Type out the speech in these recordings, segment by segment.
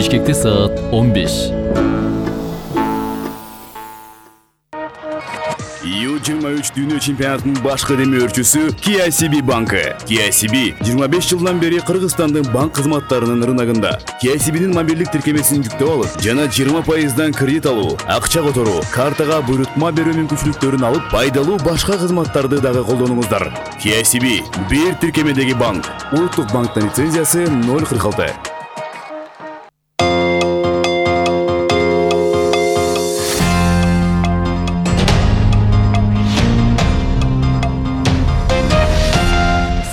Бишкекте саат 15. U23 дүйнө чемпионатынын баш кадеми өрчүсү KCB банкы. KCB 25 жылдан бери Кыргызстандын банк кызматтарынын рыногунда. KCB'нин мобилдик тиркемесин жүктөп алып, жана 20% кредит алуу, акча которуу, картага буйрутма берүү мүмкүнчүлүктөрүн алып, пайдалуу башка кызматтарды дагы колдонуңуздар. KCB бир тиркемедеги банк. Улуттук банктын лицензиясы 046.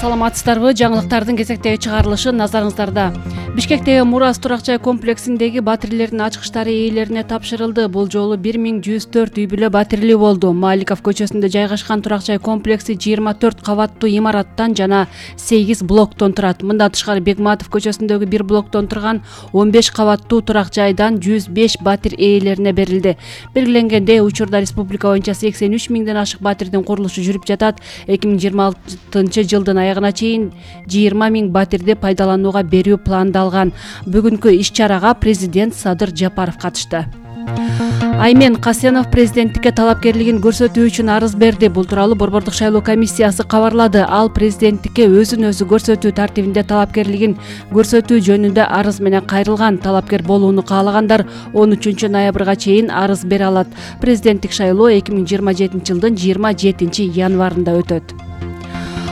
Саламатсыздарбы? Жаңылыктардын кезектеги чыгарылышы назарыңыздарда. Бишкектеги Мурас турак жай комплексиндеги батирелердин ачкычтары ээлерине тапшырылды. Бул жолу 1104 үй бүлө батирлүү болду. Маликов көчөсүндө жайгашкан турак жай комплекси 24 кабаттуу имараттан жана 8 блоктон турат. Мындан тышкары Бегматов көчөсүндөгү 1 блоктон турган 15 кабаттуу турак жайдан 105 батир ээлерине берилди. Белгиленгендей, учурда республика боюнча 83 миңден ашык батирдин курулушу жүрүп жатат. 2026 жылдын аягына чейин 20 миң батирди пайдаланууга берүү пландалган. Бүгүнкү иш-чарага президент Садыр Жапаров катышты. Аймен Касенов президенттикке талапкерлигин көрсөтүү үчүн арыз берди. Бул тууралуу Борбордук шайлоо комиссиясы кабарлады. Ал президенттикке өзүн өзү көрсөтүү тартибинде талапкерлигин көрсөтүү жөнүндө арыз менен кайрылган. Талапкер болууну каалагандар 13 ноябрга чейин арыз бере алат. Президенттик шайлоо 2027 жылдын 27 январында өтөт.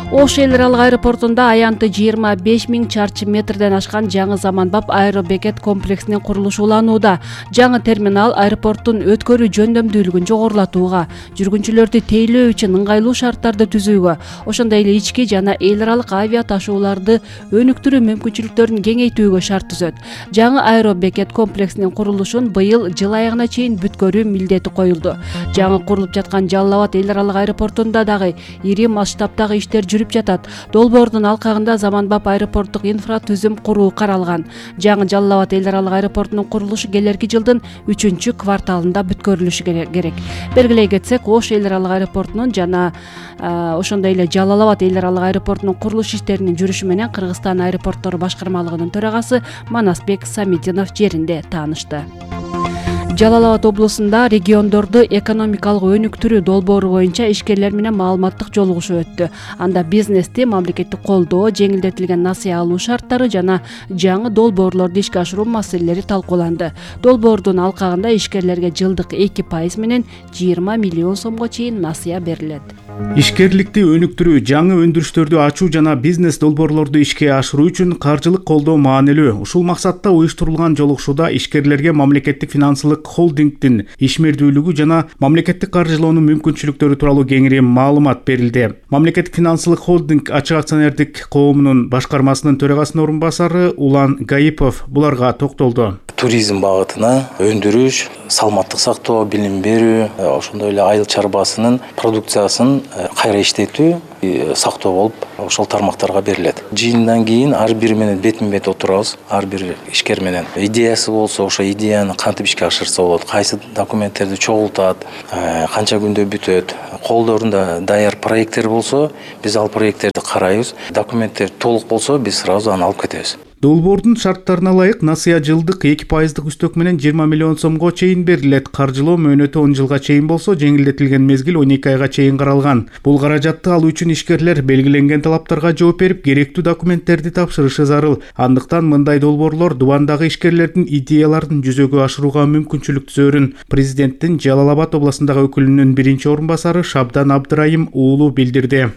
Ош эл аралык аэропортунда аянты 25 миң чарчы метрден ашкан жаңы заманбап аэробекет комплексинин курулушу уланууда. Жаңы терминал аэропорттун өткөрүү жөндөмдүүлүгүн жогорулатууга, жүргүнчүлөрдү тейлөө үчүн ыңгайлуу шарттарды түзүүгө, ошондой эле ички жана эл аралык авиа ташууларды өнүктүрүү мүмкүнчүлүктөрүн кеңейтүүгө шарт түзөт. Жаңы аэробекет комплексинин курулушун быйыл жыл аягына чейин бүткөрүү милдети коюлду. Жаңы курулуп жаткан Жалал Абад эл аралык аэропортунда дагы ири масштабтагы иштер жүрүп жатат. Долбоордун алкагында заманбап аэропорттук инфратүзүм куруу каралган. Жаңы Жалал Абад эл аралык аэропортунун курулушу келерки жылдын 3 кварталында бүткөрүлүшү керек. Белгилей кетсек, Ош эл аралык аэропортунун жана ошондой эле Жалал Абад эл аралык аэропортунун курулуш иштеринин жүрүшү менен Кыргызстан аэропорттору башкармалыгынын төрагасы Манасбек Самидинов жеринде таанышты. Жалал Абад облусунда региондорду экономикалык өнүктүрүү долбоору боюнча ишкерлер менен маалыматтык жолугушуу өттү. Анда бизнести мамлекеттик колдоо, жеңилдетилген насыя алуу шарттары жана жаңы долбоорлорду ишке ашыруу маселелери талкууланды. Долбоордун алкагында ишкерлерге жылдык 2% менен 20 миллион сомго чейин насыя берилет. Ишкерликти өнүктүрүү, жаңы өндүрүштөрдү ачуу жана бизнес долбоорлорду ишке ашыруу үчүн каржылык колдоо маанилүү. Ушул максатта уюштурулган жолугушууда ишкерлерге мамлекеттик финансылык холдингдин ишмердүүлүгү жана мамлекеттик каржылоонун мүмкүнчүлүктөрү тууралуу кеңири маалымат берилди. Мамлекеттик финансылык холдинг ачык акционердик коомунун башкармасынын төрагасынын орун басары Улан Гаипов буларга токтолду. Туризм багытына өндүрүш, саламаттык сактоо, билим берүү, ошондой эле айыл чарбасынын продукциясын кайра иштетүү, сактоо болуп ошол тармактарга берилет. Жыйындан кийин ар бир менен бетме-бет отурабыз. Ар бир ишкер менен идеясы болсо, ошо идеяны кантип ишке ашырса болот, кайсы документтерди чогултат, канча күндө бүтөт. Колдорунда даяр проекттер болсо, биз ал проекттерди карайбыз. Документтер толук болсо, биз сразу аны алып кетебиз. Долбоордун шарттарына ылайык насыя жылдык 2% үстөк менен 20 миллион сомго чейин берилет. Каржылоо мөөнөтү 10 жылга чейин болсо, жеңилдетилген мезгил 12 айга чейин каралган. Бул каражатты алуу үчүн ишкерлер белгиленген талаптарга жооп берип, керектүү документтерди тапшырышы зарыл. Андыктан мындай долбоорлор дубандагы ишкерлердин идеяларын жүзөгө ашырууга мүмкүнчүлүк түзөрүн президенттин Жалал Абад областындагы өкүлүнүн биринчи орун басары Шабдан Абдырайым уулу билдирди.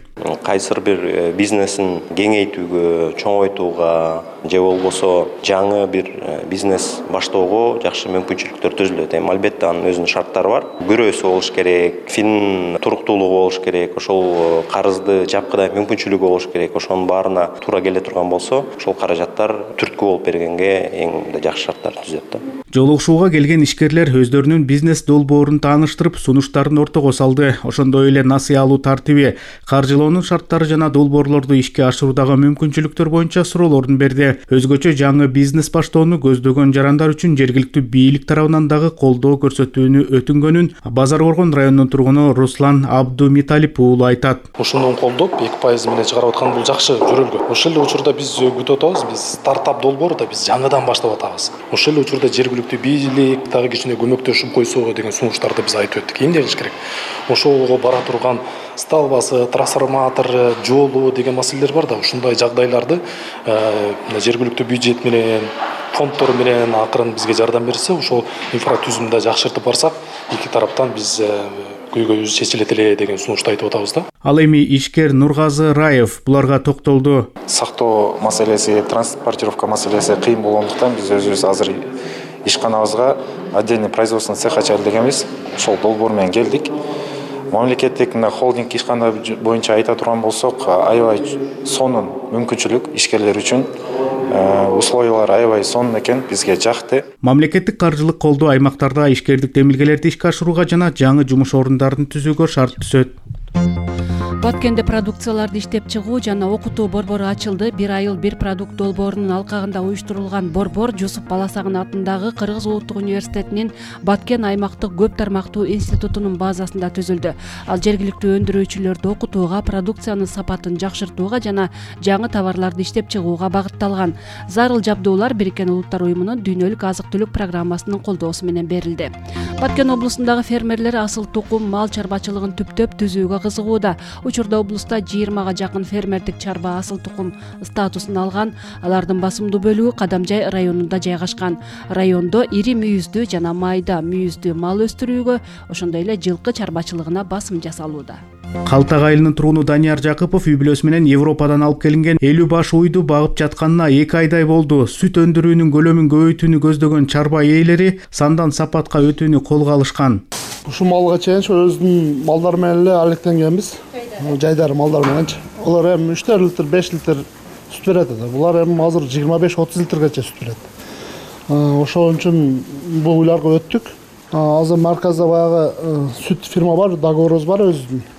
Кайсыр бир бизнесин кеңейтүүгө, чоңойтууга же болбосо жаңы бир бизнес баштоого жакшы мүмкүнчүлүктөр түзүлөт. Албетте анын өзүнүн шарттары бар. Күрөөсү болуш керек, фин туруктуулугу болуш керек, ошол карызды жапкыдай мүмкүнчүлүгү болуш керек. Ошонун баарына туура келе турган болсо, ошол каражаттар түрткү болуп бергенге эң жакшы шарттар түзөт. Жолугушууга келген ишкерлер өздөрүнүн бизнес долбоорун тааныштырып, сунуштарын ортого салды. Ошондой эле насыя алуу тартиби, каржылоонун баштоонун шарттары жана долбоорлорду ишке ашыруудагы мүмкүнчүлүктөр боюнча суроолорун берди. Өзгөчө жаңы бизнес баштоону көздөгөн жарандар үчүн жергиликтүү бийлик тарабынан дагы колдоо көрсөтүүнү өтүнгөнүн Базар Коргон районунун тургуну Руслан Абдумиталип уулу айтат. Ушуну колдоп 2% менен чыгарып аткан бул жакшы жөрөлгө. Ошол эле учурда биз күтүп атабыз. Биз стартап долбоору да биз жаңыдан баштап атабыз. Ошол эле учурда жергиликтүү бийлик дагы кичине көмөктөшүп койсо деген сунуштарды биз айтып өттүк. Эмне кылыш керек? Ошого бара турган сталбасы, трансформатор, жолу деген маселелер бар да. Ушундай жагдайларды жергиликтүү бюджет менен, фонддор менен акырын бизге жардам берсе, ошол инфратүзүмдү жакшыртып барсак, эки тараптан биз көйгөйүбүз чечилет эле деген сунушту айтып атабыз да. Ал эми ишкер Нургазы Раев буларга токтолду. Сактоо маселеси, транспортировка маселеси кыйын болгондуктан биз өзүбүз азыр ишканабызга отдельный производственный цех ачалы дегенбиз. Ошол долбоор менен келдик. Мамлекеттик холдинг ишкана боюнча айта турган болсок, аябай сонун мүмкүнчүлүк ишкерлер үчүн. Условиялар аябай сонун экен, бизге жакты. Мамлекеттик каржылык колдоо аймактарда ишкердик демилгелерди ишке ашырууга жана жаңы жумуш орундарын түзүүгө шарт түзөт. Баткенде продукцияларды иштеп чыгуу жана окутуу борбору ачылды. Бир айыл бир продукт долбоорунун алкагында уюштурулган борбор Жусуп Баласагын атындагы Кыргыз Улуттук университетинин Баткен аймактык көп тармактуу институтунун базасында түзүлдү. Ал жергиликтүү өндүрүүчүлөрдү окутууга, продукциянын сапатын жакшыртууга жана жаңы товарларды иштеп чыгууга багытталган. Зарыл жабдуулар Бириккен Улуттар уюмунун дүйнөлүк азык-түлүк программасынын колдоосу менен берилди. Баткен облусундагы фермерлер асыл тукум мал чарбачылыгын түптөп түзүүгө кызыгууда. Учурда облуста 20га жакын фермердик чарба асыл тукум статусун алган. Алардын басымдуу бөлүгү Кадамжай районунда жайгашкан. Райондо ири мүйүздүү жана майда мүйүздүү мал өстүрүүгө, ошондой эле жылкы чарбачылыгына басым жасалууда. Калтак айылынын тургуну Данияр Жакыпов үй бүлөсү менен Европадан алып келинген 50 баш уйду багып жатканына 2 айдай болду. Сүт өндүрүүнүн көлөмүн көбөйтүүнү көздөгөн чарба ээлери сандан сапатка өтүүнү колго алышкан. Ушул малга чейин өзүнүн малдары менен эле алектенгенбиз. Жайдары малдар мененчи. Алар эми 3 литр, 5 литр сүт берет. Булар эми азыр 25-30 литргече сүт берет. Ошол үчүн бул уйларга өттүк. Азыр марказда баягы сүт фирма бар, договорубуз бар өзүнүн.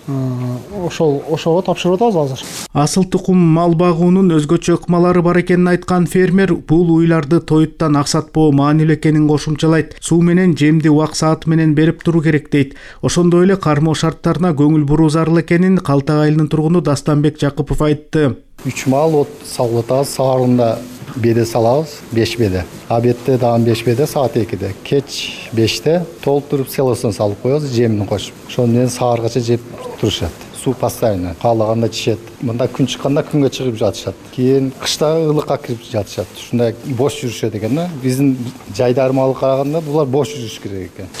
Ошого тапшырып атабыз азыр. Асыл тукум мал багуунун өзгөчө ыкмалары бар экенин айткан фермер бул уйларды тоюттан аксатпоо маанилүү экенин кошумчалайт. Суу менен жемди убак сааты менен берип туруу керек дейт. Ошондой эле кармоо шарттарына көңүл буруу зарыл экенин Калтак айылынын тургуну Дастанбек Жакыпов айтты. 3 мал от салып атабыз, саарында беде салабыз, 5 беде. Обедте дагы 5 беде, саат 2-де. Кеч 5-те толтуруп селосын салып коебуз, жемин кошуп. Ошону менен сааргача жеп турушат. Суу постоянно, каалаганда ичет. Мында күн чыкканда күнгө чыгып жатышат. Кийин кышта ылыкка кирип жатышат. Ушундай бош жүрүшөт экен да. Биздин жайдармалы караганда булар бош жүрүш керек экен.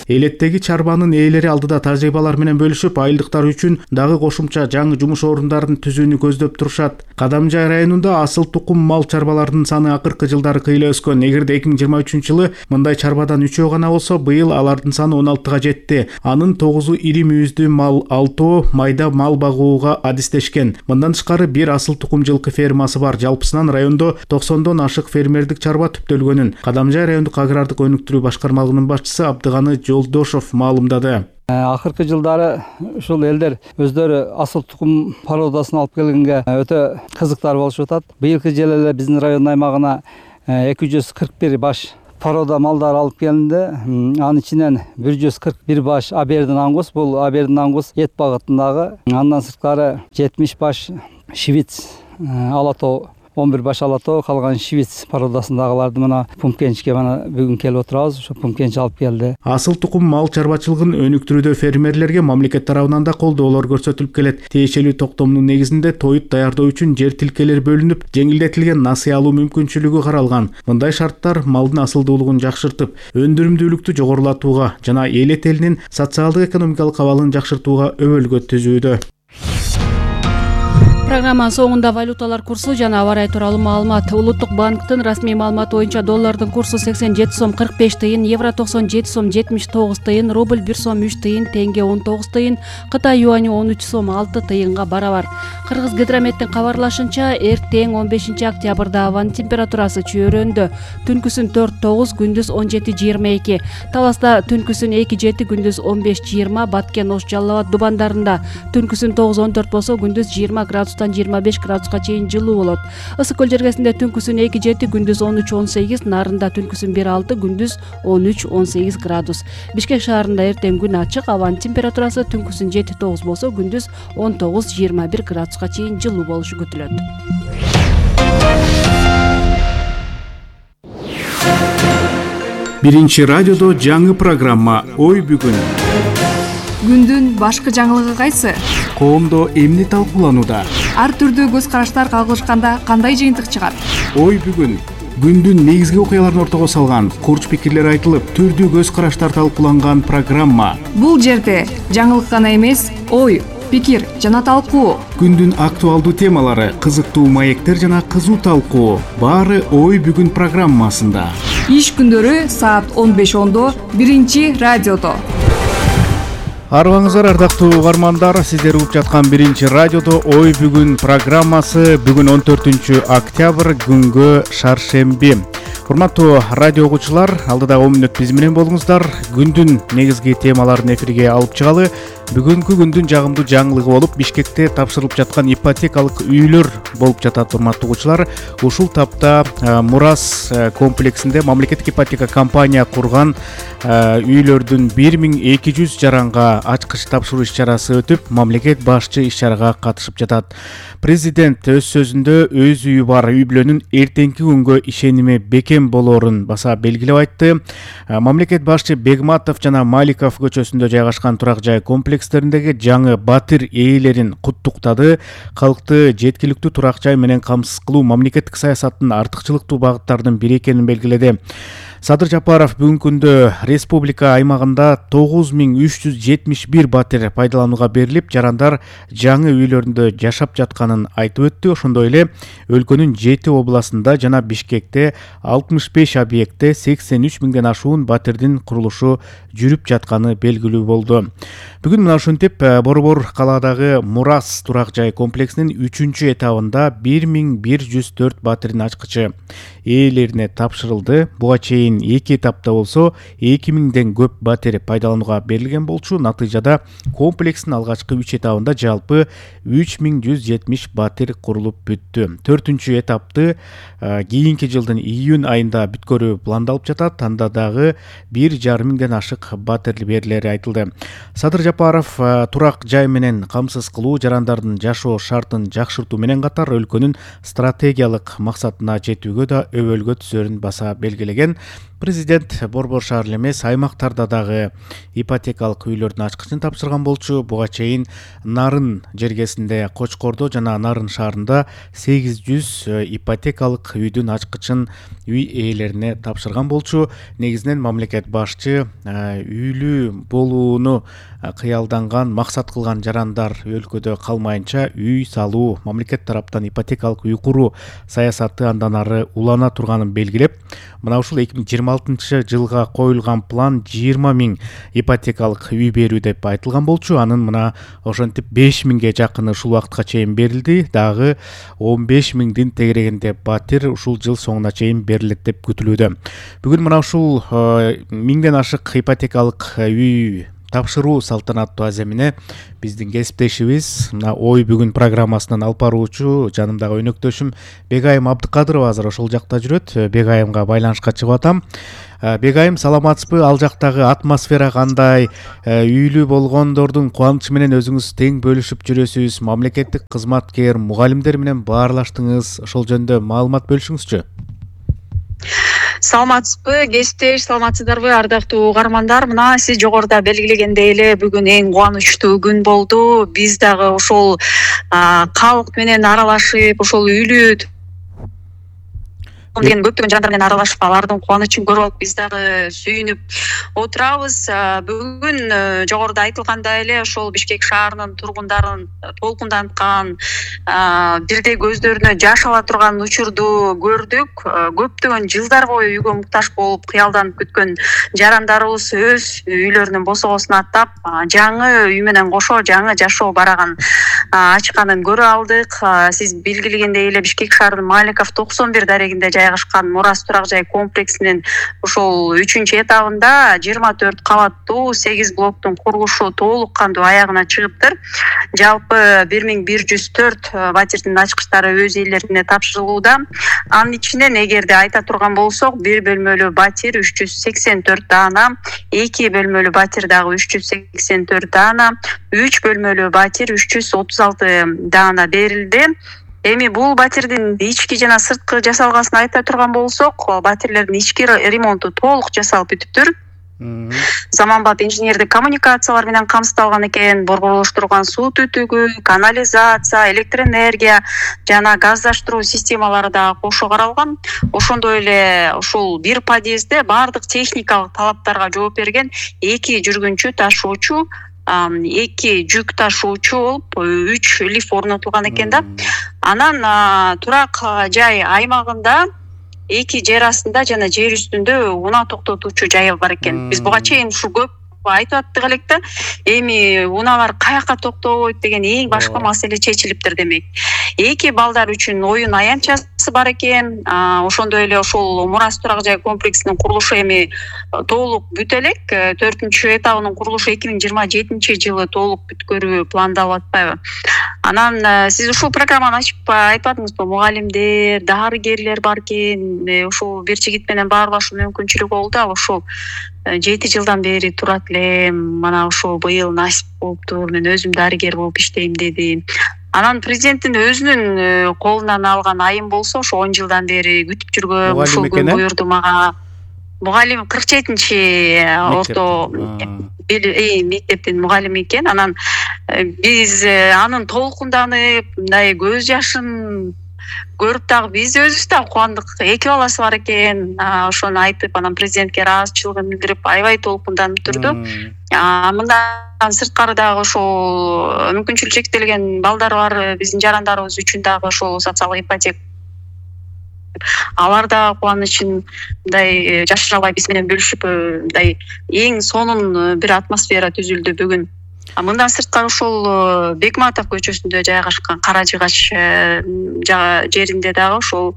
Элеттеги чарбанын ээлери алдыда тажрыйбалар менен бөлүшүп, айылдыктар үчүн дагы кошумча жаңы жумуш орундарын түзүүнү көздөп турушат. Кадамжай районунда асыл тукум мал чарбаларынын саны акыркы жылдары кыйла өскөн. Эгерде 2023 жылы мындай чарбадан 3 гана болсо, быйыл алардын саны 16га жетти. Анын 9-у ири мүйүздүү мал, 6-ы майда мал багууга адистешкен. Мындан тышкары бир асыл тукум жылкы фермасы бар. Жалпысынан райондо 90дон ашык фермердик чарба түптөлгөнүн Кадамжай райондук агрардык өнүктүрүү башкармалыгынын башчысы Абдыганы Жолдошов маалымдады. Акыркы жылдары ушул элдер өздөрү асыл тукум породасын алып келгенге өтө кызыктар болушуп атат. Быйылкы жылы эле биздин район аймагына 241 баш порода малдар алып келинди. Анын ичинен 141 баш Абердин ангус, бул Абердин ангус эт багытындагы. Андан сырткары 70 баш швиц алатоо, 11 баш алатоо, калган швиц породасындагыларды мына Пумкенчке мына бүгүн келип отурабыз. Ошо Пумкенч алып келди. Асыл тукум мал чарбачылыгын өнүктүрүүдө фермерлерге мамлекет тарабынан да колдоолор көрсөтүлүп келет. Тиешелүү токтомдун негизинде тоют даярдоо үчүн жер тилкелер бөлүнүп, жеңилдетилген насыя алуу мүмкүнчүлүгү каралган. Мындай шарттар малдын асылдуулугун жакшыртып, өндүрүмдүүлүктү жогорулатууга жана эл элинин социалдык экономикалык абалын жакшыртууга өбөлгө түзүүдө. Программанын соңунда валюталар курсу жана аба ырайы тууралуу маалымат. Улуттук банктын расмий маалыматы боюнча доллардын курсу 87 сом 45 тыйын, евро 97 сом 79 тыйын, рубль 1 сом 3 тыйын, тенге 19 тыйын, Кытай юаню 13 сом 6 тыйынга барабар. Кыргыз гидрометтин кабарлашынча, эртең 15 октябрда абанын температурасы чөйрөндө. Түнкүсүн 4-9, күндүз 17-22. Таласта түнкүсүн 2-7, күндүз 15-20, Баткен, Ош, Жалал Абад дубандарында түнкүсүн 9-14 болсо, күндүз 20 градустан 25 градуска чейин жылуу болот. Ысык көл жергесинде түнкүсүн 2-7, күндүз 13-18, Нарында түнкүсүн 1-6, күндүз 13-18 градус. Бишкек шаарында эртең күн ачык, абанын температурасы түнкүсүн 7-9 болсо, күндүз 19-21 градуска чейин жылуу болушу күтүлөт. Биринчи радиодо жаңы программа «Ой бүгүн». Күндүн башкы жаңылыгы кайсы? Коомдо эмне талкууланууда? Ар түрдүү көз караштар кагылышканда кандай жыйынтык чыгат? Ой бүгүн. Күндүн негизги окуяларын ортого салган, курч пикирлер айтылып, түрдүү көз караштар талкууланган программа. Бул жерде жаңылык гана эмес, ой, пикир жана талкуу. Күндүн актуалдуу темалары, кызыктуу маектер жана кызуу талкуу. Баары Ой бүгүн программасында. Иш күндөрү саат 15:10 биринчи радиодо. Арыбаңыздар, ардактуу угармандар, сиздер угуп жаткан биринчи радиодо Ой бүгүн программасы. Бүгүн 14 октябрь, күнгө шаршемби. Урматтуу радио угуучулар, алдыда 10 мүнөт биз менен болуңуздар. Күндүн негизги темаларын эфирге алып чыгалы. Бүгүнкү күндүн жагымдуу жаңылыгы болуп, Бишкекте тапшырылып жаткан ипотекалык үйлөр болуп жатат, урматтуу угуучулар. Ушул тапта Мурас комплексинде мамлекеттик ипотека компания курган үйлөрдүн 1200 жаранга ачкыч тапшыруу иш-чарасы өтүп, мамлекет башчы иш-чарага катышып жатат. Президент өз сөзүндө өз үйү бар үй бүлөнүн эртеңки күнгө ишеними бекем болоорун баса белгилеп айтты. Мамлекет башчы Бегматов жана Маликов көчөсүндө жайгашкан турак жай комплекстериндеги жаңы батир ээлерин куттуктады. Калкты жеткиликтүү турак жай менен камсыз кылуу мамлекеттик саясаттын артыкчылыктуу багыттарынын бири экенин белгиледи. Садыр Жапаров бүгүнкү күндө республика аймагында 9371 батир пайдаланууга берилип, жарандар жаңы үйлөрүндө жашап жатканын айтып өттү. Ошондой эле өлкөнүн 7 областында жана Бишкекте 65 объектте 83 миңден ашуун батирдин курулушу жүрүп жатканы белгилүү болду. Бүгүн мына ушинтип Борбор калаадагы Мурас турак жай комплексинин 3-чү этабында 1104 батирдин ачкычы ээлерине тапшырылды. Буга чейин 2 этапта болсо 2000ден көп батир пайдаланууга берилген болчу. Натыйжада комплекстин алгачкы 3 этабында жалпы 3170 батир курулуп бүттү. 4-чү этапты кийинки жылдын июнь айында бүткөрүү пландалып жатат. Анда дагы 1,5 миңден ашык батир берилери айтылды. Садыр Жапаров турак жай менен камсыз кылуу, жарандардын жашоо шартын жакшыртуу менен катар өлкөнүн стратегиялык максатына жетүүгө да өбөлгө түзөрүн баса белгилеген. Президент Борбор шаар эле эмес, аймактарда дагы ипотекалык үйлөрдүн ачкычын тапшырган болчу. Буга чейин Нарын жергесинде Кочкордо жана Нарын шаарында 800 ипотекалык үйдүн ачкычын үй ээлерине тапшырган болчу. Негизинен мамлекет башчы үйлүү болууну кыялданган, максат кылган жарандар өлкөдө калмайынча үй салуу, мамлекет тараптан ипотекалык үй куруу саясаты андан ары улана турганын белгилеп, мына ушул 2026 жылга коюлган план 20 миң ипотекалык үй берүү деп айтылган болчу. Анын мына ошентип 5 миңге жакыны ушул убакытка чейин берилди. Дагы 15 миңдин тегерегинде батир ушул жыл соңуна чейин берилет деп күтүлүүдө. Бүгүн мына ушул 1000ден ашык ипотекалык үй тапшыруу салтанаттуу аземине биздин кесиптешибиз, мына Ой бүгүн программасынын алып баруучу жанымдагы өнөктөшүм Бегайым Абдыкадырова азыр ошол жакта жүрөт. Бегайымга байланышка чыгып атам. Бегайым, саламатсызбы? Ал жактагы атмосфера кандай? Үйлүү болгондордун кубанычы менен өзүңүз тең бөлүшүп жүрөсүз. Мамлекеттик кызматкер, мугалимдер менен баарлаштыңыз. Ошол жөнүндө маалымат бөлүшүңүзчү. Саламатсызбы, кесиптеш, саламатсыздарбы ардактуу угармандар? Мына сиз жогоруда белгилегендей эле бүгүн эң кубанычтуу күн болду. Биз дагы ошол калк менен аралашып, ошол үйлүү деген көптөгөн жарандар менен аралашып алардын кубанычын көрүп алып биз дагы сүйүнүп отурабыз. Бүгүн жогоруда айтылгандай эле ошол Бишкек шаарынын тургундарын толкунданткан, бирдей көздөрүнө жаш ала турган учурду көрдүк. Көптөгөн жылдар бою үйгө муктаж болуп кыялданып күткөн жарандарыбыз өз үйлөрүнүн босогосун аттап, жаңы үй менен кошо жаңы жашоо бараган ачканын көрө алдык. Сиз белгилегендей эле Бишкек шаарынын Маликов 91 дарегинде жайгашкан Мурас турак жай комплексинин ушул 3-чү этабында 24 кабаттуу 8 блоктун курулушу толук кандуу аягына чыгыптыр. Жалпы 1104 батирдин ачкычтары өз ээлерине тапшырылууда. Анын ичинен эгерде айта турган болсок, 1 бөлмөлүү батир 384 даана, 2 бөлмөлүү батир дагы 384 даана, 3 бөлмөлүү батир 336 даана берилди. Эми бул батирдин ички жана сырткы жасалгасын айта турган болсок, батирлердин ички ремонту толук жасалып бүтүптүр. Заманбап инженердик коммуникациялар менен камсыздалган экен. Борборлоштурулган суу түтүгү, канализация, электроэнергия жана газдаштыруу системалары да кошо каралган. Ошондой эле ушул бир подъездде баардык техникалык талаптарга жооп берген 2 жүргүнчү ташуучу, 2 жүк ташуучу болуп 3 лифт орнотулган экен да. Анан турак жай аймагында 2 жер астында жана жер үстүндө унаа токтотуучу жайы бар экен. Биз буга чейин ушу көп айтып аттык элек да. Эми унаалар каяка токтойт деген эң башкы маселе чечилиптир демек. 2 балдар үчүн оюн аянтчасы бар экен. Ошондой эле ошол Мурас турак жай комплексинин курулушу эми толук бүтө элек. 4-чү этабынын курулушу 2027-жылы толук бүткөрүү пландалып атпайбы? Анан сиз ушул программаны ачып айтпадыңызбы? Мугалимдер, дарыгерлер бар экен. Ушул бир жигит менен баарлашуу мүмкүнчүлүгү болду. Ошол 7 жылдан бери турат элем. Мана ошол быйыл насип болуптур. Мен өзүм дарыгер болуп иштейм деди. Анан президенттин өзүнүн колунан алган айым болсо, ошо 10 жылдан бери күтүп жүргөн ушул күн буйрду мага. Мугалим 47-чи орто мектептин мугалими экен. Анан биз анын толкунданып, мындай көз жашын көрүп дагы биз өзүбүз да кубандык. 2 баласы бар экен. Ошону айтып, анан президентке ыраазычылыгын билдирип, аябай толкунданып турду. Мындан сырткары дагы ошол мүмкүнчүлүгү чектелген балдары бар биздин жарандарыбыз үчүн дагы ошол социалдык ипотека алар да кубанычын мындай жашыра албай биз менен бөлүшүп, мындай эң сонун бир атмосфера түзүлдү бүгүн. Мындан сырткары ошол Бекматов көчөсүндө жайгашкан Кара Жыгач жеринде дагы ошол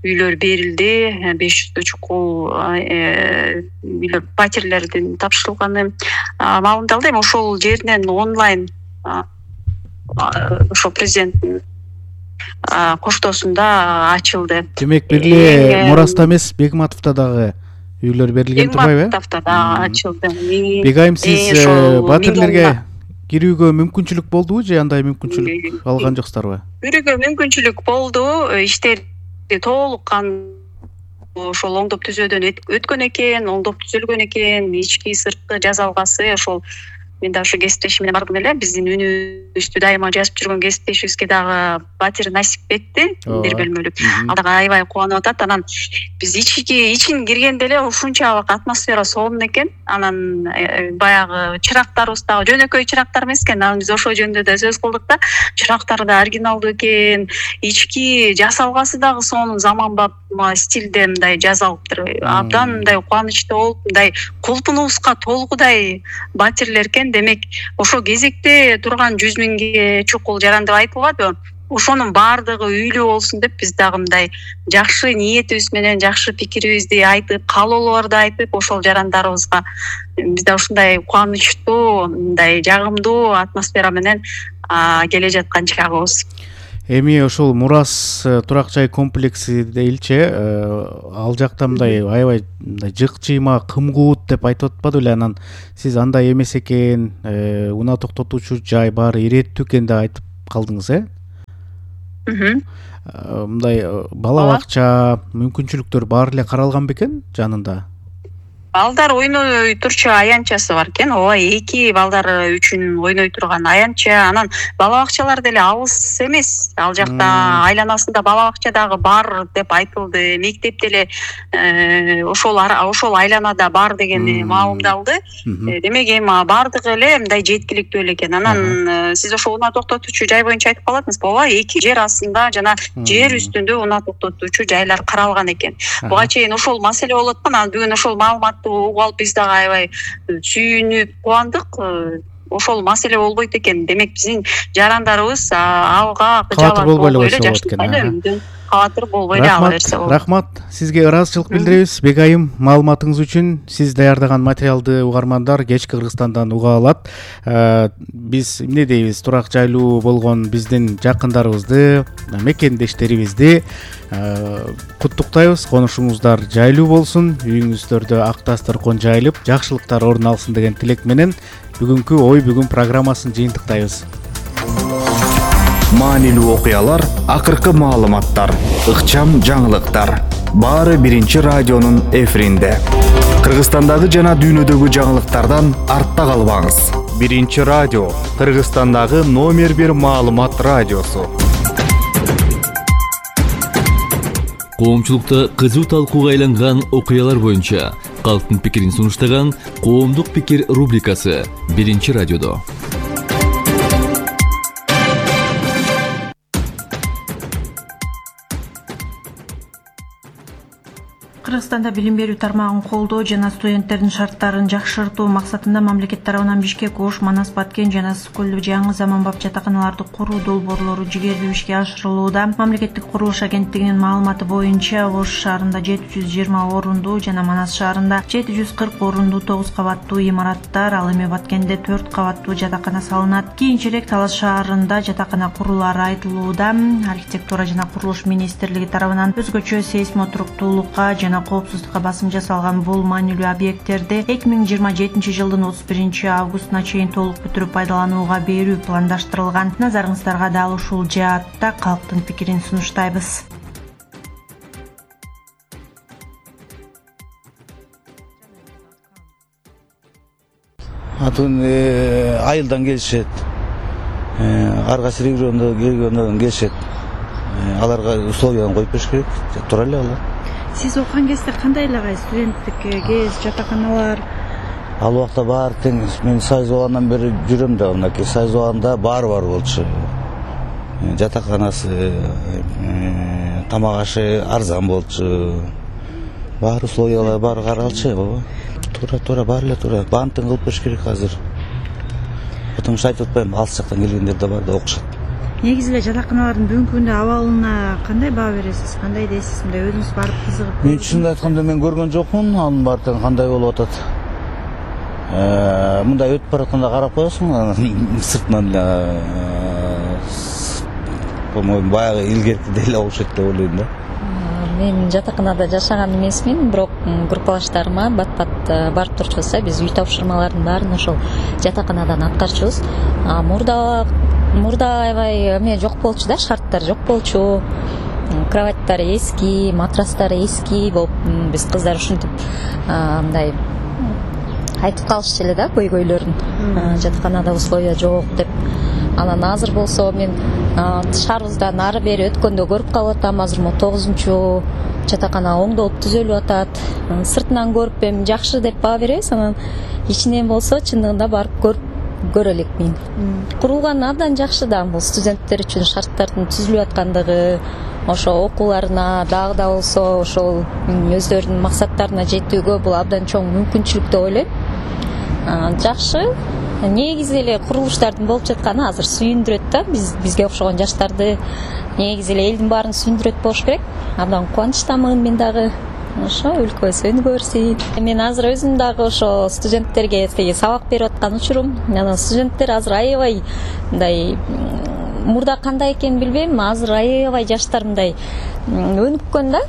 үйлөр берилди. 500 чукул үйлөр батирлердин тапшырылганы маалымдалды. Эми ошол жеринен онлайн ошол президенттин коштоосунда ачылды. Демек бир эле Мураста эмес, Бекматовдо дагы үйлөр берилген турбайбы? Бекматовдо дагы ачылды. Бегайым, сиз батирлерге кирүүгө мүмкүнчүлүк болдубу же андай мүмкүнчүлүк алган жоксуздарбы? Кирүүгө мүмкүнчүлүк болду. Иштерди толук ошол оңдоп түзөөдөн өткөн экен, оңдоп түзүлгөн экен. Ички сырткы жасалгасы ошол мен да ушу кесиптешим менен бардым эле. Биздин үнүбүздү дайыма жазып жүргөн кесиптешибизге дагы батир насип этти. Бир бөлмөлүк. Ал дагы аябай кубанып атат. Анан биз ичин киргенде эле ушунчалык атмосфера сонун экен. Анан баягы чырактарыбыз дагы жөнөкөй чырактар эмес экен. Анан биз ошол жөнүндө да сөз кылдык да. Чырактары да оригиналдуу экен. Ички жасалгасы дагы сонун заманбап стилде мындай жасалыптыр. Абдан мындай кубанычтуу болуп, мындай кулпунубузга толгудай батирлер экен. Демек, ошо кезекте турган 100 миңге чукул жаран деп айтылбадыбы? Ошонун баардыгы үйлүү болсун деп биз дагы мындай жакшы ниетибиз менен жакшы пикирибизди айтып, каалоолорду айтып, ошол жарандарыбызга биз да ушундай кубанычтуу, мындай жагымдуу атмосфера менен келе жаткан чагыбыз. Эми ошол Мурас турак жай комплекси дейилчи, ал жакта мындай аябай жык жыйма, кымкуут деп айтып атпады беле? Анан сиз андай эмес экен, унаа токтотуучу жай бар, иреттүү экен деп айтып калдыңыз, Мындай бала бакча мүмкүнчүлүктөр баары эле каралган бекен жанында? балдар ойной турчу аянтчасы бар экен. Ооба, 2 балдар үчүн ойной турган аянтча. Анан бала бакчалар деле алыс эмес. Ал жакта айланасында бала бакча дагы бар деп айтылды. Мектеп деле ошол айланада бар деген маалымдалды. Демек эми бардыгы эле мындай жеткиликтүү эле экен. Анан сиз ошо унаа токтотуучу жай боюнча айтып калатыңызбы? Ооба, 2 жер астында жана жер үстүндө унаа токтотуучу жайлар каралган экен. Буга чейин ошол маселе болуп аткан. Анан бүгүн ошол маалыматты угуп алып биз дагы аябай сүйүнүп кубандык. Ошол маселе болбойт экен. Демек биздин жарандарыбыз алга кыжаалат болбой эле жакшы. Катыр болбой эле ала берсе болот. Рахмат. Сизге ыраазычылык билдиребиз. Бегайым, маалыматыңыз үчүн. Сиз даярдаган материалды угармандар кечки Кыргызстандан уга алат. Биз эмне дейбиз? Турак жайлуу болгон биздин жакындарыбызды, мекендештерибизди куттуктайбыз. Конушуңуздар жайлуу болсун, үйүңүздөрдө ак дасторкон жайылып, жакшылыктар орун алсын деген тилек менен бүгүнкү ой бүгүн программасын жыйынтыктайбыз. Маанилүү окуялар, акыркы маалыматтар, ыкчам жаңылыктар. Баары биринчи радионун эфиринде. Кыргызстандагы жана дүйнөдөгү жаңылыктардан артта калбаңыз. Биринчи радио, Кыргызстандагы номер 1 маалымат радиосу. Коомчулукта кызуу талкууга айланган окуялар боюнча калктын пикирин сунуштаган Коомдук пикир рубрикасы биринчи радиодо. Кыргызстанда билим берүү тармагын колдоо жана студенттердин шарттарын жакшыртуу максатында мамлекет тарабынан Бишкек, Ош, Манас, Баткен жана Ысык-Көлдө жаңы заманбап жатаканаларды куруу долбоорлору жигердүү ишке ашырылууда. Мамлекеттик курулуш агенттигинин маалыматы боюнча Ош шаарында 720 орундуу жана Манас шаарында 740 орундуу 9 кабаттуу имараттар, ал эми Баткенде 4 кабаттуу жатакана салынат. Кийинчерээк Талас шаарында жатакана курулаары айтылууда. Архитектура жана курулуш министрлиги тарабынан өзгөчө сейсмотуруктуулукка жана коопсуздукка басым жасалган бул маанилүү объекттерди 2027 жылдын 31 августуна чейин толук бүтүрүп пайдаланууга берүү пландаштырылган. Назарыңыздарга дал ушул жаатта калктын пикирин сунуштайбыз. Атын айылдан келишет. Ар кайсы региондон келгенден келишет. Аларга условияны коюп бериш керек. Тура эле алар. Сиз окуган кезде кандай эле студенттик кез, жатаканалар? Ал убакта баары тең. Мен Союз болгондон бери жүрөм да, мынакей Союз болгондо баары бар болчу. Жатаканасы, тамак ашы арзан болчу. Баары условиялар баары каралчу, баба. Тура баары эле тура. Бантын кылып бериш керек азыр. Потому что айтып атпайм, алыс жактан келгендер да бар да окушат. Негизи эле жатаканалардын бүгүнкү күндө абалына кандай баа бересиз? Кандай дейсиз? Мындай өзүңүз барып кызыгып? Мен чынын айтканда мен көргөн жокмун, анын баардыгын кандай болуп атат. Мындай өтүп баратканда карап коесуң, сыртынан по-моему баягы илгерки деле окшойт деп ойлойм да. Мен жатаканада жашаган эмесмин, бирок группалаштарыма бат-бат барып турчубузда биз үй тапшырмалардын баарын ошол жатаканадан аткарчубуз. Мурда аябай эме жок болчу да, шарттар жок болчу. Кроваттар эски, матрастар эски болуп, биз кыздар ушинтип мындай айтып калышчу эле да, көйгөйлөрүн. Жатаканада условия жок деп. Анан азыр болсо мен шаарыбыздан ары бери өткөндө көрүп калып атам, азыр 9-чу жатакана оңдолуп түзөлүп атат. Сыртынан көрүп эми жакшы деп баа беребиз, анан ичинен болсо чындыгында барып көрө элекмин. Курулган абдан жакшы да, бул студенттер үчүн шарттардын түзүлүп аткандыгы, ошо окууларына дагы да болсо ошол өздөрүнүн максаттарына жетүүгө бул абдан чоң мүмкүнчүлүк деп ойлойм. Жакшы. Негизи эле курулуштардын болуп жатканы азыр сүйүндүрөт да, бизге окшогон жаштарды негизи эле элдин баарын сүйүндүрөт болуш керек. Абдан кубанычтамын мен дагы. Ошо өлкө өнүгө берсин. Мен азыр өзүм дагы ошо студенттерге сабак берип аткан учурум. Анан студенттер азыр аябай мындай мурда кандай экенин билбейм, азыр аябай жаштар мындай өнүккөн да.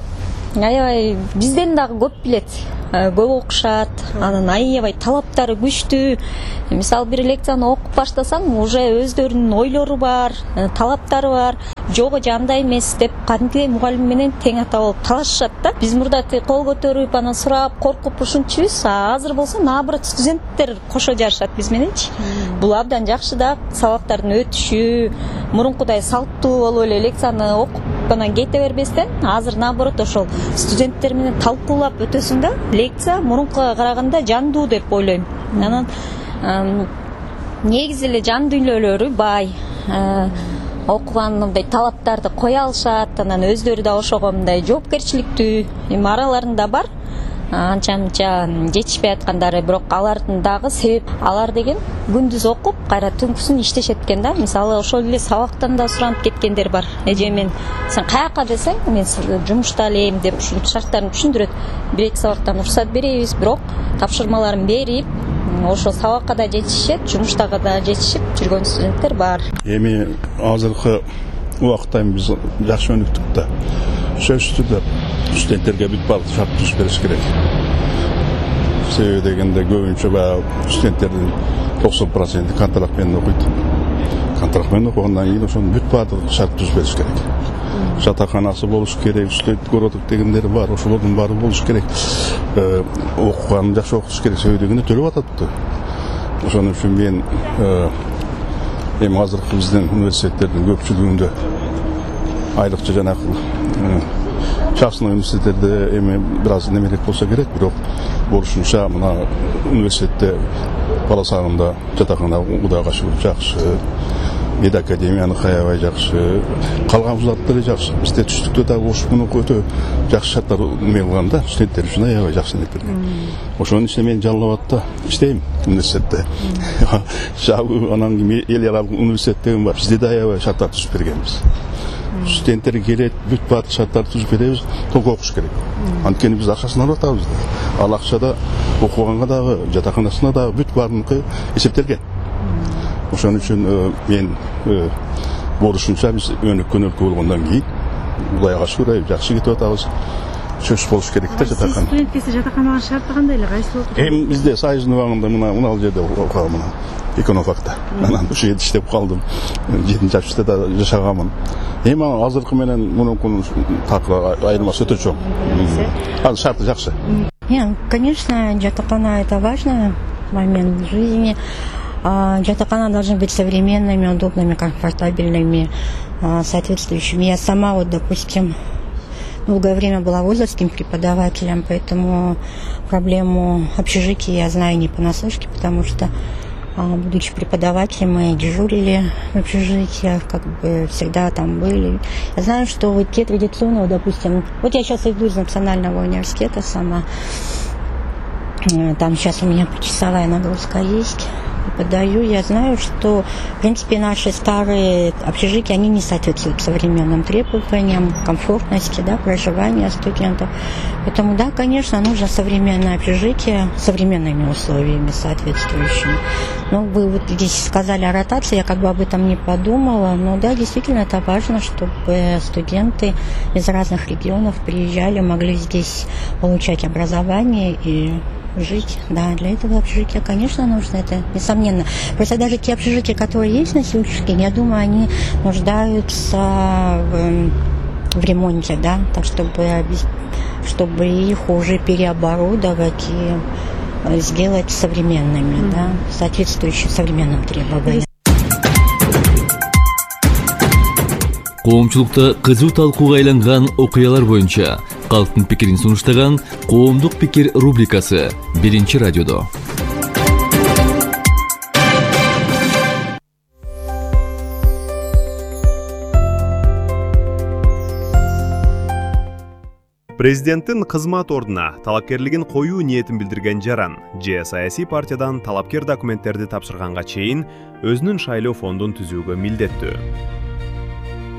Аябай бизден дагы көп билет, көп окушат, анан аябай талаптары күчтүү. Мисалы бир лекцияны окуп баштасаң, уже өздөрүнүн ойлору бар, талаптары бар. жогу жандай эмес деп кадимки мугалим менен тең ата болуп талашышат да. Биз мурда кол көтөрүп анан сурап коркуп ушунчубуз. Азыр болсо наоборот студенттер кошо жарышат биз мененчи. Бул абдан жакшы да, сабактардын өтүшү мурункудай салттуу болуп эле лекцияны окуп анан кете бербестен, азыр наоборот ошол студенттер менен талкуулап өтөсүң да. Лекция мурункуга караганда жандуу деп ойлойм. Анан негизи эле жан дүйнөлөрү бай. Окуган мындай талаптарды кое алышат, анан өздөрү да ошого мындай жоопкерчиликтүү. Эми араларында бар анча-мынча жетишпей аткандары, бирок алардын дагы себеп алар деген күндүз окуп, кайра түнкүсүн иштешет экен да. Мисалы ошол эле сабактан да суранып кеткендер бар. Эже мен сен каяка десең, мен жумушта элем деп ушинтип шарттарын түшүндүрөт. Бир-эки сабактан уруксат беребиз, бирок тапшырмаларын берип, ошо сабакка да жетишет, жумуштага да жетишип жүргөн студенттер бар. Эми азыркы убакытта биз жакшы өнүктүк да. Сөзсүз түрдө студенттерге бүт баардык шарт түзүп бериш керек. Себеби дегенде көбүнчө баягы студенттердин 90% контракт менен окуйт. Контракт менен окугандан кийин ошонун бүт баардык шарт түзүп бериш керек. Жатаканасы болуш керек, студент городок дегендер бар, ошолордун баары болуш керек. Окуганын жакшы окутуш керек, себеби дегенде төлөп атат. Ошон үчүн мен эми азыркы биздин университеттердин көпчүлүгүндө айрыкча жанагы частный университеттерде эми бир аз немерээк болсо керек, бирок болушунча мына университетте бала сагында жатакана Кудайга шүгүр жакшы, педакадемияныкы аябай жакшы, калган вуздар деле жакшы. Бизде түштүктө дагы ошону өтө жакшы шарттар эме кылган да, студенттер үчүн аябай жакшы неп берген. Ошонун ичинде мен Жалал Абадта иштейм университетте. Жабы анан кийин эл аралык университет деген бар. Бизде да аябай шарттар түзүп бергенбиз. Студенттер келет, бүт баардык шарттарды түзүп беребиз, толук окуш керек. Анткени биз акчасын алып атабыз. Ал акчада окуганга дагы, жатаканасына дагы бүт баарыныкы эсептелген. Ошон үчүн мен болушунча биз өнүккөн өлкө болгондон кийин Кудайга шүгүр жакшы кетип атабыз. Сөз болуш керек да жатакана. Студент кесе жатакананын шарты кандай эле? Кайсы окуйт? Эми бизде Союздун убагында мына ал жерде окугам, мына экономфакта. Анан ушул жерде иштеп калдым. 7-8 да жашаганмын. Эми азыркы менен мунукунун такыр айырмасы өтө чоң. Азыр шарты жакшы. Конечно, жатакана это важный момент в жизни. Жатакана должны быть современными, удобными, комфортабельными, соответствующими. Я сама, вот, допустим, долгое время была вузовским преподавателем, поэтому проблему общежития я знаю не понаслышке, потому что, будучи преподавателем, мы дежурили в общежитиях, как бы всегда там были. Я знаю, что вот те традиционные, допустим, вот я сейчас иду из Национального университета сама, там сейчас у меня почасовая нагрузка есть, подаю, я знаю, что, в принципе, наши старые общежития, они не соответствуют современным требованиям комфортности, да, проживания студентов. Поэтому, да, конечно, нужно современное общежитие с современными условиями соответствующими. Но вы вот здесь сказали о ротации, я как бы об этом не подумала, но да, действительно, это важно, чтобы студенты из разных регионов приезжали, могли здесь получать образование и жить. Да, для этого общежития, конечно, нужно, это несомненно. Просто даже те общежития, которые есть на сегодняшний день, я думаю, они нуждаются в ремонте, да, так чтобы их уже переоборудовать и сделать современными, да, соответствующими современным требованиям. Коомчулукта кызуу талкууга айланган окуялар боюнча калктын пикирин сунуштаган Коомдук пикир рубрикасы 1-радиодо. Президенттин кызмат ордуна талапкерлигин коюу ниетин билдирген жаран же саясий партиядан талапкер документтерди тапшырганга чейин өзүнүн шайлоо фондун түзүүгө милдеттүү.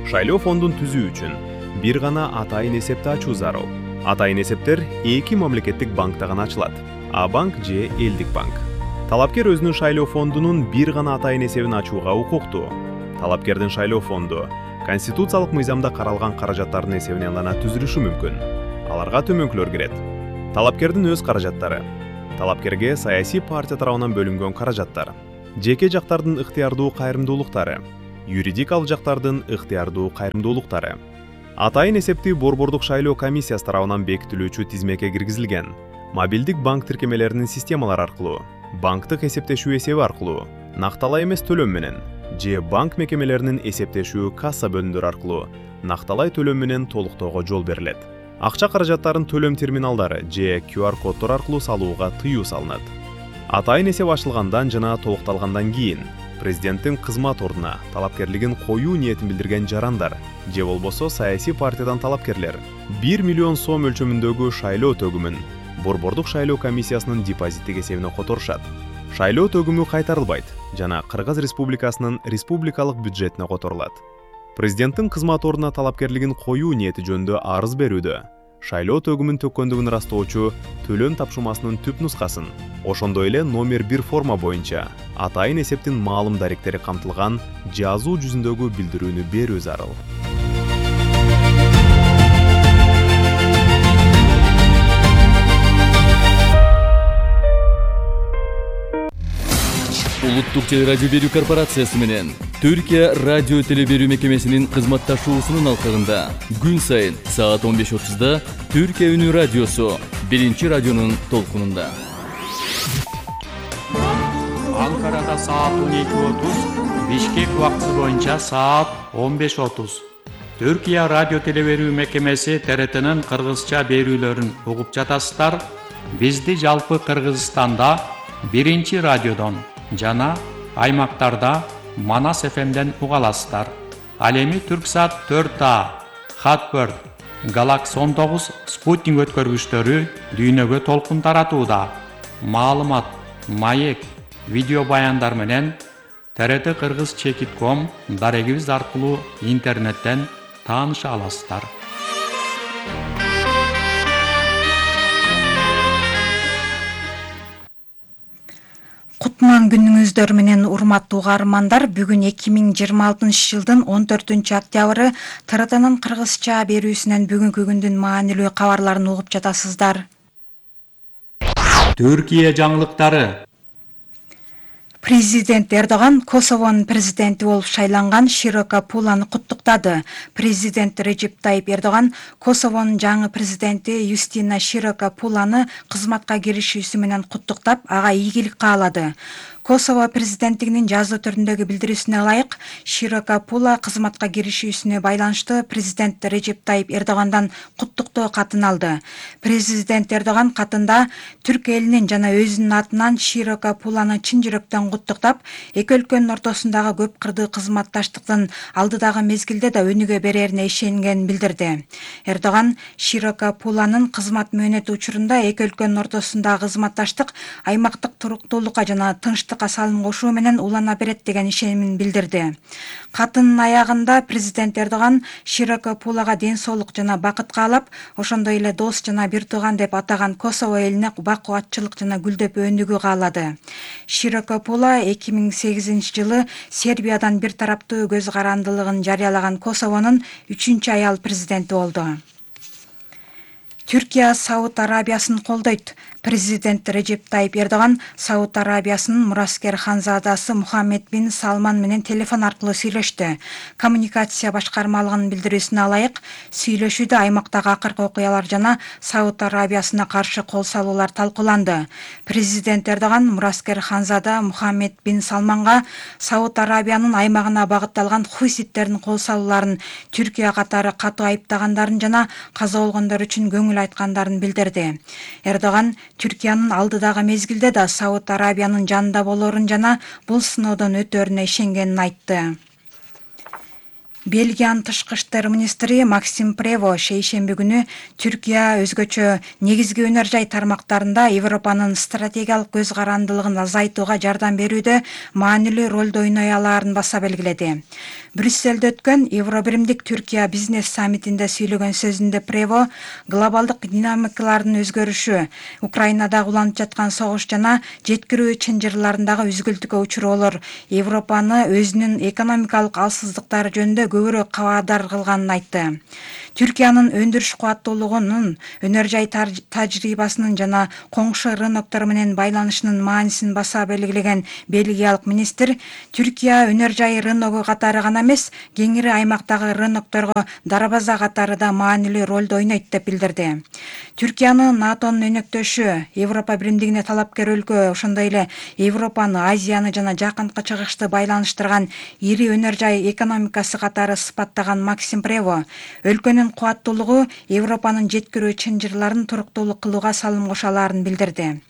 Шайлоо фондун түзүү үчүн бир гана атайын эсепти ачуу зарыл. Атайын эсептер 2 мамлекеттик банкта гана ачылат. А-банк же элдик банк. Талапкер өзүнүн шайлоо фондунун бир гана атайын эсебин ачууга укуктуу. Талапкердин шайлоо фонду конституциялык мыйзамда каралган каражаттардын эсебинен гана түзүлүшү мүмкүн. Аларга төмөнкүлөр кирет. Талапкердин өз каражаттары, талапкерге саясий партия тарабынан бөлүнгөн каражаттар, жеке жактардын ыктыярдуу кайрымдуулуктары, юридик алжактардын ыктыярдуу кайрымдуулуктары. Атайын эсептүү борбордук шайлоо комиссиясы тарабынан бекитилүүчү тизмеке киргизилген мобилдик банк тиркемелеринин системалары аркылуу, банктык эсептешүү эсеби аркылуу, накталай эмес төлөм менен же банк мекемелеринин эсептешүү касса бөлүмдөрү аркылуу накталай төлөм менен толуктоого жол берилет. Акча каражаттарын төлөм терминалдары же QR коддор аркылуу салууга тыюу салынат. Атайын эсеп ачылгандан жана толукталгандан кийин президенттин кызмат ордуна талапкерлигин коюу ниетин билдирген жарандар же болбосо саясий партиядан талапкерлер 1 миллион сом өлчөмүндөгү шайлоо төгүмүн борбордук шайлоо комиссиясынын депозиттик эсебине которушат. Шайлоо төгүмү кайтарылбайт жана Кыргыз Республикасынын республикалык бюджетине которулат. Президенттин кызмат ордуна талапкерлигин коюу ниети жөнүндө арыз берүүдө шайлоо төгүмүн төккөндүгүн ырастоочу төлөм тапшырмасынын түп нускасын, ошондой эле номер 1 форма боюнча атайын эсептин маалым даректери камтылган жазуу жүзүндөгү билдирүүнү берүү зарыл. Улуттук телерадио берүү корпорациясы менен Түркия радио телеберүү мекемесинин кызматташуусунун алкагында күн сайын саат 15:30 Түркия үнү радиосу биринчи радионун толкунунда. Анкарада саат 12:30, Бишкек убакыты боюнча саат 15:30. Түркия радио телеберүү мекемеси ТРТнын кыргызча берүүлөрүн угуп жатасыздар. Бизди жалпы Кыргызстанда биринчи радиодон жана аймактарда Манас ФМден уга аласыздар. Ал эми Түрксат 4А, Хатбird, Galaxy 19 спутник өткөргүчтөрү дүйнөгө толкун таратууда. Маалымат, маек, видео баяндар менен TRT Кыргыз Чекит.com дарегибиз аркылуу интернеттен тааныша аласыздар. Кутман күнүңүздөр менен урматтуу угармандар, бүгүн 2026 жылдын 14 октябры ТРТнын кыргызча берүүсүнөн бүгүнкү күндүн маанилүү кабарларын угуп жатасыздар. Түркия жаңылыктары. Президент Эрдоган Косовонун президенти болуп шайланган Широка Пуланы куттуктады. Президент Режеп Тайип Эрдоган Косовонун жаңы президенти Юстина Широка Пуланы кызматка киришүүсү менен куттуктап, ага ийгилик каалады. Косово президенттигинин жазуу түрүндөгү билдирүүсүнө ылайык, Широка Пула кызматка киришүүсүнө байланыштуу президент Режеп Тайип Эрдогандан куттуктоо катын алды. Президент Эрдоган катында түрк элинин жана өзүнүн атынан Широка Пуланы чын жүрөктөн куттуктап, эки өлкөнүн ортосундагы көп кырдуу кызматташтыктын алдыдагы мезгилде да өнүгө берерине ишенгенин билдирди. Эрдоган Широка Пуланын кызмат мөөнөтү учурунда эки өлкөнүн ортосундагы кызматташтык аймактык туруктуулукка жана тынчтыкка салым кошуу менен улана берет деген ишенимин билдирди. Катынын аягында президент Эрдоган Широка Пулага ден соолук жана бакыт каалап, ошондой эле дос жана бир тууган деп атаган Косово элине бакубатчылык жана гүлдөп өнүгүү каалады. Широка Пула 2008 жылы Сербиядан бир тараптуу көз карандылыгын жарыялаган Косовонун 3-чү аял президенти болду. Түркия Сауд Арабиясын колдойт. Президент Режеп Тайип Эрдоган Сауд Арабиясынын мураскер ханзадасы Мухаммед бин Салман менен телефон аркылуу сүйлөштү. Коммуникация башкармалыгынын билдирүүсүнө ылайык, сүйлөшүүдө аймактагы акыркы окуялар жана Сауд Арабиясына каршы кол салуулар талкууланды. Президент Эрдоган мураскер ханзада Мухаммед бин Салманга Сауд Арабиянын аймагына багытталган хуйситтердин кол салууларын Түркия катары катуу айыптагандарын жана каза болгондор үчүн көңүл айткандарын билдирди. Эрдоган Түркиянын алдыдагы мезгилде да Сауд Арабиянын жанында болорун жана бул сыноодон өтөрүнө ишенгенин айтты. Бельгиянын тышкы иштер министри Максим Прево шейшемби күнү Түркия өзгөчө негизги өнөр жай тармактарында Европанын стратегиялык көз карандылыгын азайтууга жардам берүүдө маанилүү ролду ойной алаарын баса белгиледи. Брюсселде өткөн Евробиримдик Түркия бизнес саммитинде сүйлөгөн сөзүндө Прево глобалдык динамикалардын өзгөрүшү, Украинадагы уланып жаткан согуш жана жеткирүү чынжырларындагы үзгүлтүккө учуроолор Европаны өзүнүн экономикалык алсыздыктары жөнүндө көбүрөөк кабардар кылганын айтты. Түркиянын өндүрүш кубаттуулугунун, өнөр жай тажрыйбасынын жана коңшу рыноктор менен байланышынын маанисин баса белгилеген бельгиялык министр Түркия өнөр жай рыногу катары гана эмес, кеңири аймактагы рынокторго дарбаза катары да маанилүү ролду ойнойт деп билдирди. Түркияны НАТОнун өнөктөшү, Европа биримдигине талапкер өлкө, ошондой эле Европаны, Азияны жана Жакынкы Чыгышты байланыштырган ири өнөр жай экономикасы катары сыпаттаган Максим Прево өлкөнүн кубаттуулугу Европанын жеткирүү чынжырларын туруктуулук кылууга салым кошо алаарын билдирди.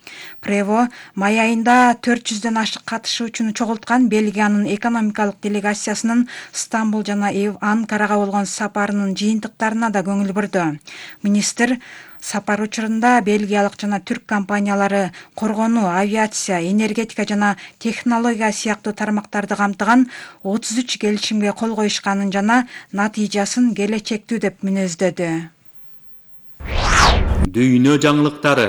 Прево май айында 400дөн ашык катышуучуну чогулткан Бельгиянын экономикалык делегациясынын Стамбул жана Анкарага болгон сапарынын жыйынтыктарына да көңүл бурду. Министр сапар учурунда бельгиялык жана түрк компаниялары коргонуу, авиация, энергетика жана технология сыяктуу тармактарды камтыган 33 келишимге кол коюшканын жана натыйжасын келечектүү деп мүнөздөдү. Дүйнө жаңылыктары.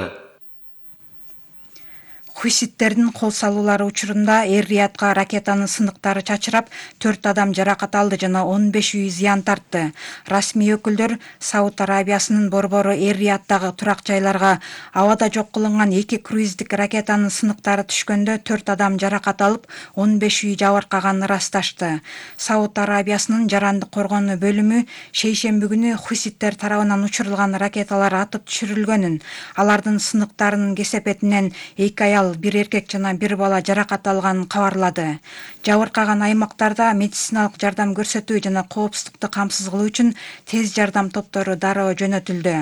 Хуситтердин кол салуулары учурунда Эр-Риядга ракетанын сындыктары чачырап, 4 адам жаракат алды жана 15 үй зыян тартты. Расмий өкүлдөр Сауд Арабиясынын борбору Эр-Рияddагы турак жайларга абада жок кылынган 2 круиздик ракетанын сындыктары түшкөндө 4 адам жаракат алып, 15 үй жабыркаганын ырасташты. Сауд Арабиясынын жарандык коргонуу бөлүмү шейшемби күнү хуситтер тарабынан учурулган ракеталар атып түшүрүлгөнүн, алардын сындыктарынын кесепетинен 2 аял, 1 эркек жана 1 бала жаракат алганын кабарлады. Жабыркаган аймактарда медициналык жардам көрсөтүү жана коопсуздукту камсыз кылуу үчүн тез жардам топтору дароо жөнөтүлдү.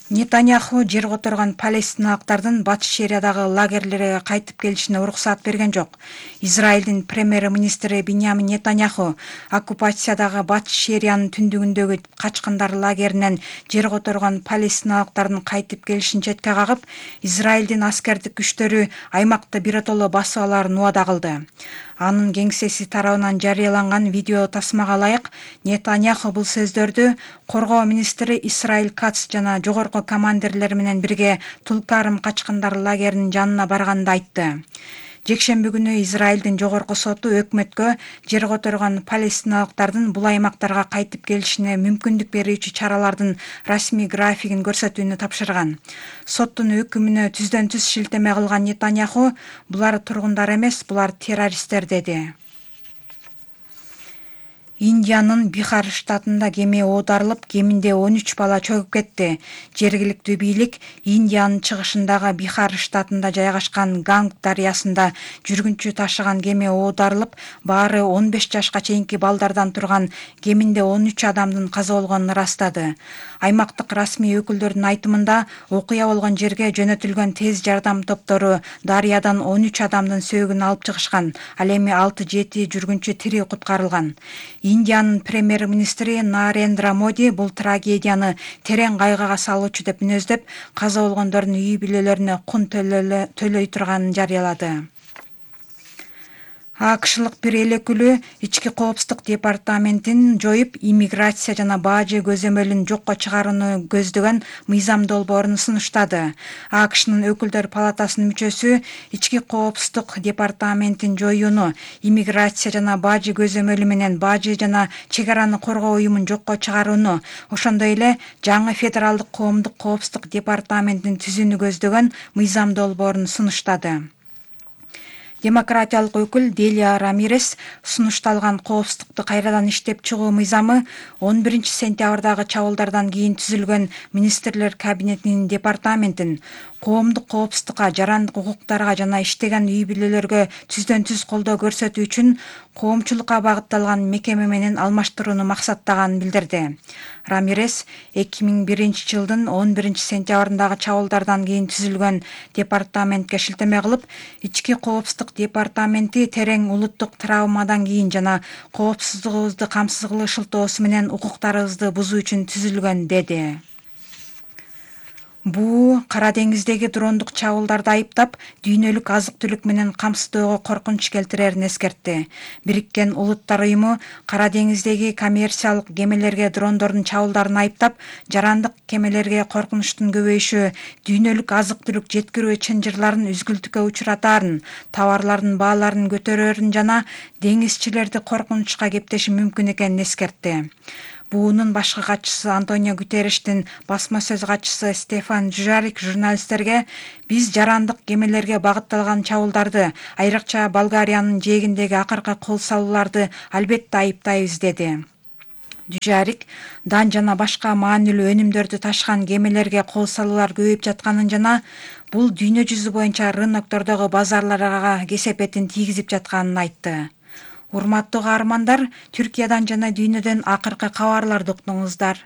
Нетаньяху жер которгон палестиналыктардын Батыш Шериядагы лагерлерге кайтып келишине уруксаат берген жок. Израилдин премьер-министри Биньямин Нетаньяху оккупациядагы Батыш Шериянын түндүгүндөгү качкындар лагеринен жер которгон палестиналыктардын кайтып келишин четке кагып, Израилдин аскердик күчтөрү аймакты биротоло басып алаарын убада кылды. Анын кеңсеси тарабынан жарыяланган видео тасмага ылайык, Нетаньяху бул сөздөрдү коргоо министри Исраил Кац жана жогорку командирлер менен бирге Тулкарым качкындар лагеринин жанына барганда айтты. Жекшемби күнү Израилдин жогорку соту өкмөткө жер которгон палестиналыктардын бул аймактарга кайтып келишине мүмкүндүк берүүчү чаралардын расмий графигин көрсөтүүнү тапшырган. Соттун өкүмүнө түздөн түз шилтеме кылган Нетаньяху булар тургундар эмес, булар террористтер деди. Индиянын Бихар штатында кеме оодарылып, кеминде 13 бала чөгүп кетти. Жергиликтүү бийлик Индиянын чыгышындагы Бихар штатында жайгашкан Ганг дарыясында жүргүнчү ташыган кеме оодарылып, баары 15 жашка чейинки балдардан турган кеминде 13 адамдын каза болгонун ырастады. Аймактык расмий өкүлдөрдүн айтымында, окуя болгон жерге жөнөтүлгөн тез жардам топтору дарыядан 13 адамдын сөөгүн алып чыгышкан. Ал эми 6-7 жүргүнчү тирүү куткарылган. Индиянын премьер-министри Нарендра Моди бул трагедияны терең кайгыга салуучу деп мүнөздөп, каза болгондордун үй бүлөлөрүнө кун төлөй турганын жарыялады. АКШлык бир эл өкүлү ички коопсуздук департаментин жоюп, иммиграция жана бажы көзөмөлүн жокко чыгарууну көздөгөн мыйзам долбоорун сунуштады. АКШнын өкүлдөр палатасынын мүчөсү ички коопсуздук департаментин жоюуну, иммиграция жана бажы көзөмөлү менен бажы жана чек араны коргоо уюмун жокко чыгарууну, ошондой эле жаңы федералдык коомдук коопсуздук департаментин түзүүнү көздөгөн мыйзам долбоорун сунуштады. Демократиялык өкүл Делия Рамирес сунушталган коопсуздукту кайрадан иштеп чыгуу мыйзамы 11-сентябрдагы чабуулдардан кийин түзүлгөн министрлер кабинетинин департаментин коомдук коопсуздукка, жарандык укуктарга жана иштеген үй бүлөлөргө түздөн түз колдоо көрсөтүү үчүн коомчулукка багытталган мекеме менен алмаштырууну максаттаганын билдирди. Рамирес 2001-жылдын 11-сентябрындагы чабуулдардан кийин түзүлгөн департаментке шилтеме кылып, ички коопсуздук департаменти терең улуттук травмадан кийин жана коопсуздугубузду камсыз кылуу шылтоосу менен укуктарыбызды бузуу үчүн түзүлгөн деди. Буу Кара деңиздеги дрондук чабуулдарды айыптап, дүйнөлүк азык түлүк менен камсыздоого коркунуч келтирерин эскертти. Бириккен Улуттар уюму Кара деңиздеги коммерциялык кемелерге дрондордун чабуулдарын айыптап, жарандык кемелерге коркунучтун көбөйүшү дүйнөлүк азык түлүк жеткирүү чынжырларын үзгүлтүккө учуратаарын, товарлардын бааларын көтөрөөрүн жана деңизчилерди коркунучка кептеши мүмкүн экенин эскертти. Буунун башкы катчысы Антонио Гутерриштин басма сөз катчысы Стефан Дюжарик журналисттерге биз жарандык кемелерге багытталган чабуулдарды, айрыкча Болгариянын жээгиндеги акыркы кол салууларды албетте айыптайбыз деди. Дюжарик дан жана башка маанилүү өнүмдөрдү ташыган кемелерге кол салуулар көбөйүп жатканын жана бул дүйнө жүзү боюнча рыноктордогу базарларга кесепетин тийгизип жатканын айтты. Урматтуу каармандар, Түркиядан жана дүйнөдөн акыркы кабарларды уктуңуздар.